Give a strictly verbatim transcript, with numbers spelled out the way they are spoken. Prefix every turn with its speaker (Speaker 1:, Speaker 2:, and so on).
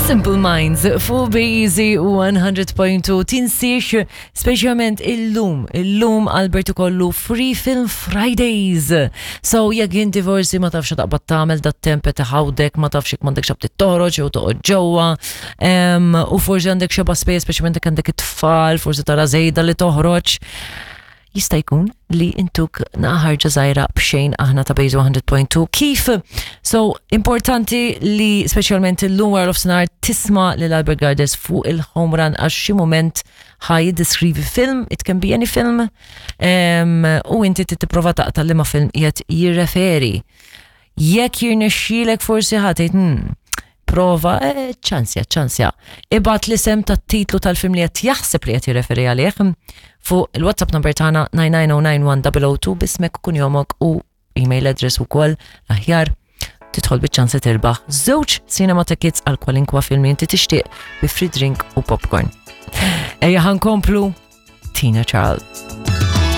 Speaker 1: Simple Minds fuq Easy one hundred point two. Tinsiex, speċjalment illum, illum Albert ikollu Free Film Fridays. So jekk inti forsi ma tafx taqbad tagħmel dat-temp taħawdek, ma tafx jekk m'għandekx aptit toħroġ jew toqgħod ġewwa, em, u forsi għandek xeba space, speċjalment jekk għandek it-tfal, forsi tara żejda li toħroġ, jista' jkun li intuk naħarġa żgħira b'xejn aħna ta' Base one hundred point two. Kif? So, importanti li speċjalment illum wara nofsinhar tisma' lil Albert Gardes fuq il-home run, għax xi moment ħa jiddeskrivi film, it can be any film, um, u inti tipprova taqta' liema film qiegħed jirreferi. Jekk jirnexxielek, forsi ħa tgħid, hmm, prova, eh, ċansja, ċansja. Ibgħat l-isem tat-titlu tal-film li qed jaħseb li qed jirreferi għalih fuq il-WhatsApp number tagħna nine nine zero nine one zero zero two b'ismek, kunjomok u email address ukoll aħjar. Tidħol biċ-ċans li tirbaħ żewġ cinema tickets għal kwalinkwa film li inti tixtieq bi free drink u popcorn. Ejja, ħa nkomplu Tina Charles.